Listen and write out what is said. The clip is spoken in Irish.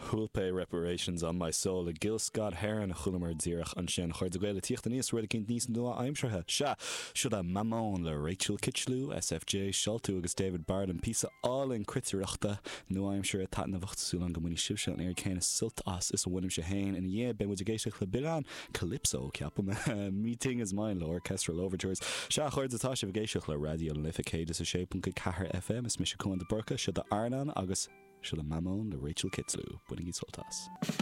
Hulpe Reparations on My Soul le Gil Scott Heron a chualamar díreach ansin. A chairde Gael ag tíocht aníos, rud eicínt níos nua-aimseartha. Sea, siod é Mamón le Rachel Kitchlew, SFJ, Seoltú agus David Barden. Píosa álainn cruitireachta nua-aimseartha taitneamhach. Súil agam go mbainfidh sibhse an oiread céanna sult as is a bhainimse féin. Ina dhiaidh, beidh muid ag éisteacht le Bileán Calypso, ceapaim. Me Ting Is Mine le Orchestral Overtures. Sea, a chairde, tá sibh ag éisteacht le Raidió na Life 106.4 FM. Is mise Cuan de Búrca, seo é Airneán agus seo é Mamón le Rachel Kitchlew. Bainigí sult as.